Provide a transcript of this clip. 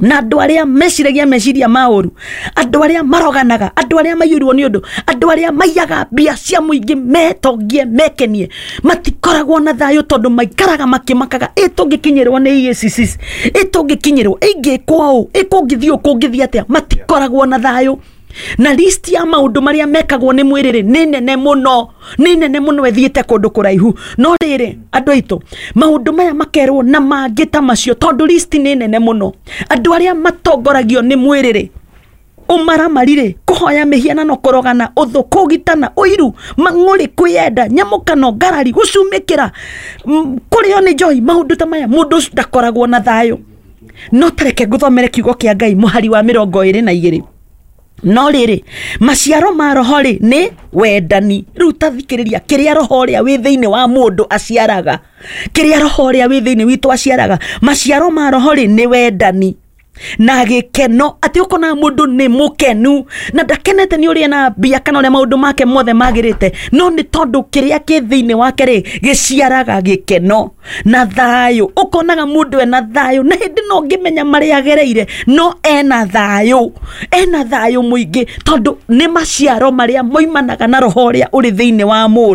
Na andũ arĩa meciragia meciria ma ũru, andũ arĩa maroganaga, andũ arĩa maiyũirwo nĩ ũndũ, andũ arĩa maiyaga mbia cia mũingĩ metongie mekenie, matikoragwo na thayũ tondũ maikaraga makĩmakaga, ĩ tũngĩkinyĩrwo nĩ EACC, ĩ tũngĩkinyĩrwo, ĩngĩkwo ũũ, ĩ kũngĩthiĩ ũũ, kũngĩthiĩ atĩa, matikoragwo na thayũ. Na list ya maũndũ marĩa mekagwo nĩ mwĩrĩ rĩ, nĩ nene mũno, nĩ nene mũno, ĩthiĩte kũndũ kũraihu. No rĩrĩ, andũ aitũ, maũndũ maya makerwo na mangĩ ta macio, tondũ list nĩ nene mũno. Andũ arĩa matongoragio nĩ mwĩrĩ rĩ, ũmaramari rĩ, kũhoya mĩhianano, kũrogana, ũthũ, kũgitana, ũiru, mang'ũrĩ, kwĩyenda, nyamũkano, ngarari, gũcumĩkĩra, kũrĩo nĩ njohi, maũndũ ta maya, mũndũ ũcio ndakoragwo na thayũ. No tareke ngũthomere kiugo kĩa Ngai, mũhari wa 22. No rĩrĩ, maciaro ma roho rĩ, nĩ wendani. Rĩu ta thikĩrĩria kĩrĩa roho ũrĩa wĩ thĩinĩ wa mũndũ aciaraga, kĩrĩa roho ũrĩa wĩ thĩinĩ witũ aciaraga. Maciaro ma roho rĩ, nĩ wendani na gĩkeno, atĩ ũkona mũndũ nĩ mũkenu na ndakenete nĩ ũrĩa na mbia kana ũrĩa maũndũ make mothe magĩrĩte, no nĩ tondũ kĩrĩa kĩ thĩinĩ wake rĩ, gĩciaraga gĩkeno na thayũ. Ũkonaga mũndũ ena thayũ, na hĩndĩ no ngĩmenya marĩa agereire, no ena thayũ, ena thayũ mũingĩ, tondũ nĩ maciaro marĩa moimanaga na roho ũrĩa ũrĩ thĩinĩ wa mũndũ.